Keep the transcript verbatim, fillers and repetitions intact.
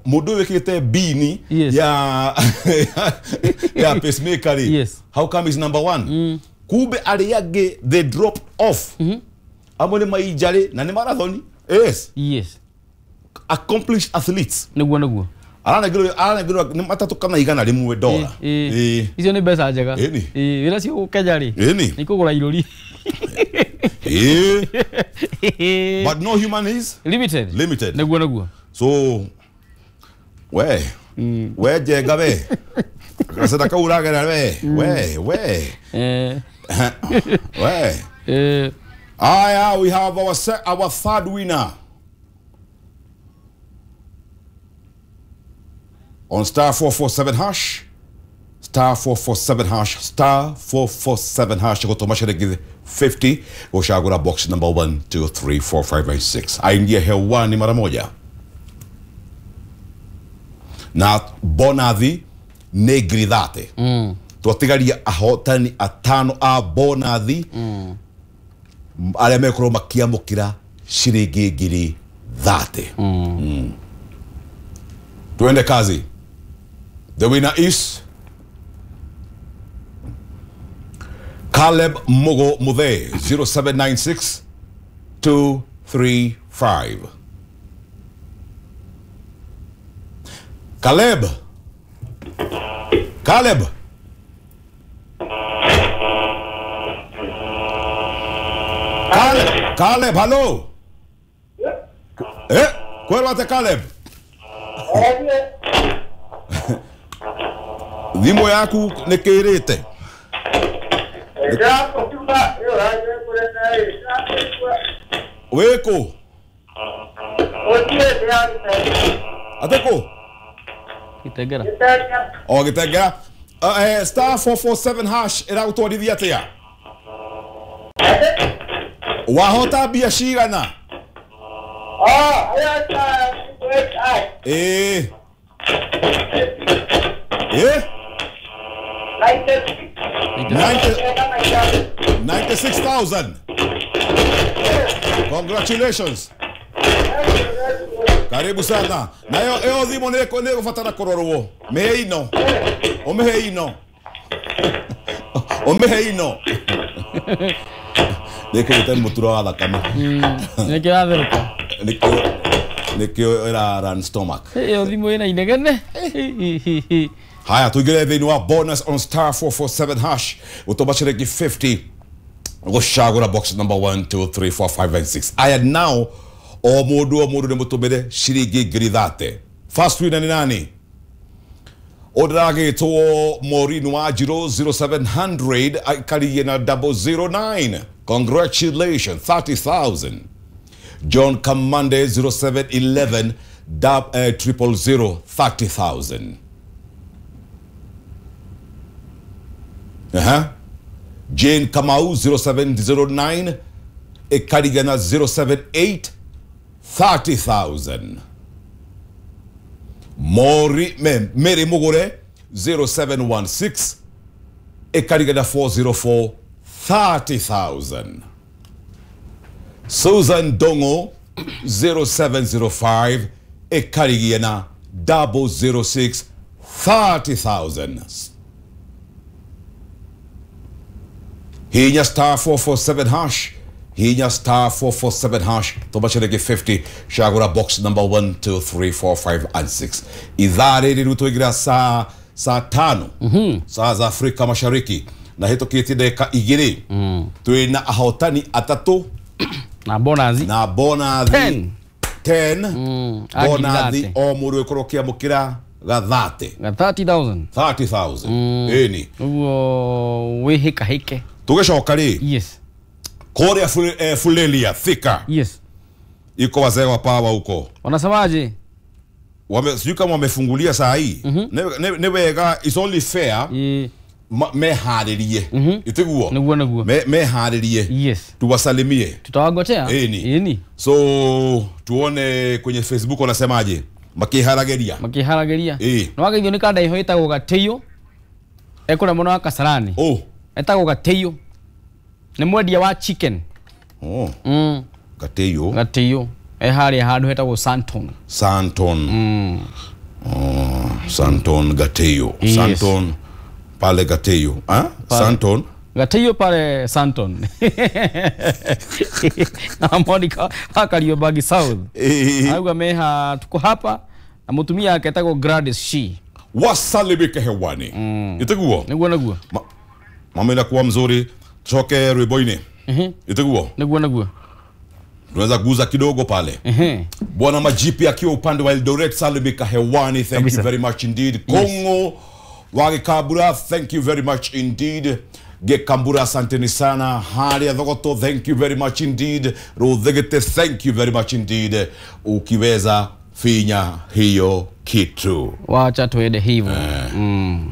Mundu wikite bini Yes. ya ya pacemaker ri. Yes. How come is number one? Mm. Kumbe aria angi they drop off. Mm -hmm. Amwe ni mainjari na ni marathon. Yes. Yes. Accomplished athletes. Niguo niguo. Aranengirwo aranengirwo ni matatu kana igana rimwe dola. Eh. Icio ni mbeca njega. Ĩni. Eh, wĩra cio Kenya rĩ. Ĩni. Nĩ kũgũra irũri. Eh. But no human is limited. Limited. Niguo niguo. So we mm. we njenga we gaceta kau ũragera we we we eh we eh aya we have our our third winner on star four four seven hash star four four seven hash star four four seven hash gũtũma ciringi fifty gũcagũra box number one two three four five and six aingie hewani mara moja na bonathi nĩ ngiri thate. Mm. Twatigaria ahotani atano a bonathi mm. arĩa mekorwo makiamũkĩra ciringi ngiri thate. Mm. Mm. Tuende kazi. The winner is Caleb Mugo Muthe zero seven nine six two three five. Caleb. Caleb. Caleb, Caleb, hello. Eh, kwero Caleb. Thimũ yaku nĩ kĩrĩte. Wĩkũ? Atĩkũ? Gitengera. O Gitengera. Uh, eh, star four four seven hash ĩragũtwarithia atĩa? Wahota mbia cigana? Eh. Eh? ninety-six thousand. Congratulations. Karibu sana. Na yo yo thimo nĩ nĩ kũrorwo. Mĩhe ino. Ũmĩhe ino. Ũmĩhe ino. Nĩkĩrĩte mũturo wa thakame. Nĩkĩo yatherũka. Nĩkĩo nĩkĩo ĩra run stomach. Ĩyo thimũ ĩna inegene. Haya tuingire thĩinĩ wa bonus on star four four seven hash gũtũma ciringi fifty gũcagũra box number one two three four five and six. Aya now o mũndũ o mũndũ nĩ mũtũmĩre ciringi ngiri thate. First winner nĩ nani? Ũndĩragĩtwo Maureen Wanjiru zero seven hundred aikaririe na double zero nine. Congratulations, thirty thousand. John Kamande zero seven eleven triple zero thirty thousand. Uh-huh. Jane Kamau zero seven zero nine Ekarigana zero seven eight thirty thousand. Mori Mary Mugure zero seven one six Ekarigana four zero four thirty thousand. Susan Dongo zero seven zero five Ekarigana double zero six thirty thousand. Hinya star four four seven hash. Hinya star four four seven hash. Toma ciringi fifty. Shagura box number one two three four five and six. Ithaa rĩrĩ rĩu tũingĩra saa saa tano. Mm-hmm. Saa za Afrika Mashariki. Na hĩtũkĩtie ndagĩka igĩrĩ. Mm. Twĩna ahotani atatũ. Na bonathi. Na bonathi. Ten. Ten. Mm. Bonathi o mũndũ ĩkorwo kĩamũkĩra gathate. Ga thirty thousand. thirty thousand. Mm. Ĩni. Ũguo wĩhĩkahĩke. Tũgĩcoka rĩ. Yes. Kũrĩa eh, Fulelia Thika. Yes. Iko wazee wa power huko. Wanasemaje? Wame sijui kama wamefungulia saa hii. Mm -hmm. Ne, ne wega it's only fair. Yeah. Meharĩrie. Mm -hmm. Itiguo. Niguo niguo. Me meharĩrie. Yes. Tuwasalimie. Tutawagotea. Ĩni. Ĩni. So tuone kwenye Facebook wanasemaje? Makiharageria. Makiharageria. Ĩ. No wageithio nĩ kanda iho ĩtagwo Gatĩiũ. Ekũrĩa mũno wa Kasarani. Oh. Etagwo Gatĩiũ. Nĩ mwendia wa chicken. Oh. Mm. Gatĩiũ. Gatĩiũ. E harĩa handũ hetagwo Santon. Santon. Mm. Oh, Santon Gateyo. Yes. Santon pale Gateyo. Ah? Santon. Gateyo pale Santon. Na Monica Kariobangi South. Auga meha tuko hapa na mutumia ake etagwo Gladys Shi. Wasalimike hewani. Mm. Iteguo. Niguo niguo. Ma, mama inakuwa mzuri. Tutoke rwimbo-inĩ. Mhm. Iteguo. Niguo niguo. Tunaweza guza kidogo pale. Mhm. Bwana Majipi akiwa upande wa Eldoret, salimika hewani. Thank Kabisa. you very much indeed. Kongo Wagikabura, thank you very much indeed. Gekambura, asanteni sana. Haria Thogoto, thank you very much indeed. Ruthigite, thank you very much indeed. Ukiweza finya hiyo kitu. Wacha tuende hivyo. Mm.